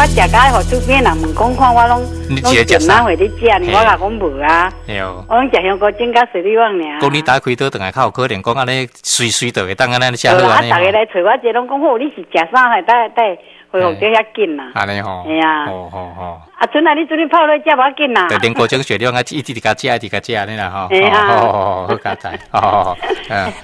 我食甲予厝邊人問講看我攏你攏一个食啥前哪會咧食呢？我共講無啊，對。我攏食香菇種佮水裡旺爾。講你打開刀轉來較有可能講按呢隨隨就會當按呢食好對啦，啊，按呢逐家來揣我這攏講好，你是食啥會帶帶恢復得遐緊啦？按呢吼。嘿啊。吼吼吼。啊，陣啊，你陣你泡落食無要緊啦。對，連高精雪量啊，一直共食，一直共食按呢啦吼。嘿啊。好好佳哉。吼，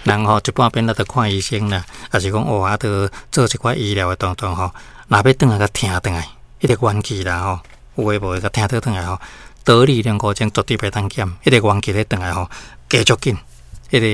人吼一半變咱著看醫生啦，抑是講哦啊，著做一寡醫療的動作吼，若欲轉來共疼轉來，彼個元氣啦吼，有的無的共疼倒轉來吼，得力龍骨精絕對袂當減，彼個元氣咧轉來吼，加足緊，彼個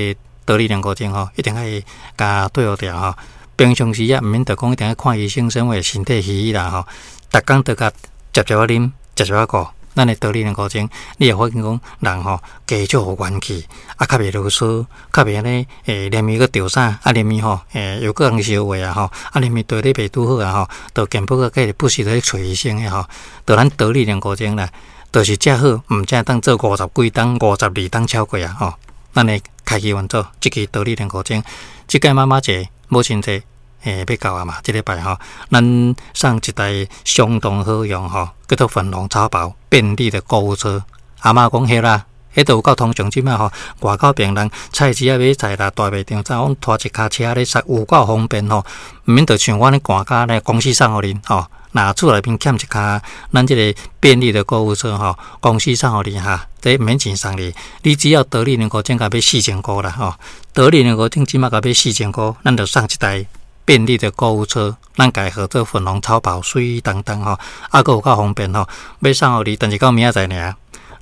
得力龍骨精吼，一定愛共對好掉吼。平常時啊，毋免著講一定愛看醫生，啥物身體虛啦吼，逐工著共捷捷仔啉，捷捷仔顧，咱的得力龍骨精，你會發現講人吼加少有元氣，啊較袂囉嗦，較袂按呢連面閣著啥，啊連面吼又閣通燒話啊吼，啊連面對咧袂拄好啊吼，著健保閣繼續不時咧揣醫生的吼，著咱得力龍骨精啦，就是遮好，毋才會當做五十幾冬、52冬超過啊吼。咱的開機運作，這支得力龍骨精，這屆媽媽節、母親節欲到啊嘛，這禮拜吼，咱送一台相當好用吼，叫做粉紅超跑便利的購物車。阿嬤講彼啦，彼都有夠通常這擺吼，外口病人菜市仔買菜啦，大賣場怎攏拖一跤車咧，實有夠方便吼，毋免著像我按呢趕工咧，公司送予恁吼。若厝內面欠一跤，咱這個便利的購物車吼，公司送予你哈，這毋免錢送你，你只要得力龍骨精共買4000箍啦吼，得力龍骨精這擺共買四千箍，咱就送一台便利的購物車，咱共號做粉紅超跑，媠當當吼，啊，閣有夠方便吼，欲送予你，但是到明仔載爾，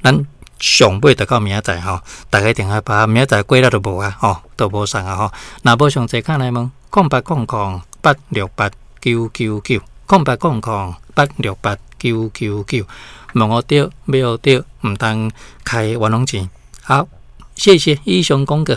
咱上尾就到明仔載吼，大家一定愛把明仔載過了就無啊吼，都無送啊吼。若無上濟敲來問，0800868999，0800868999，問予著，買予著，毋通開冤枉錢。好，謝謝，以上廣告。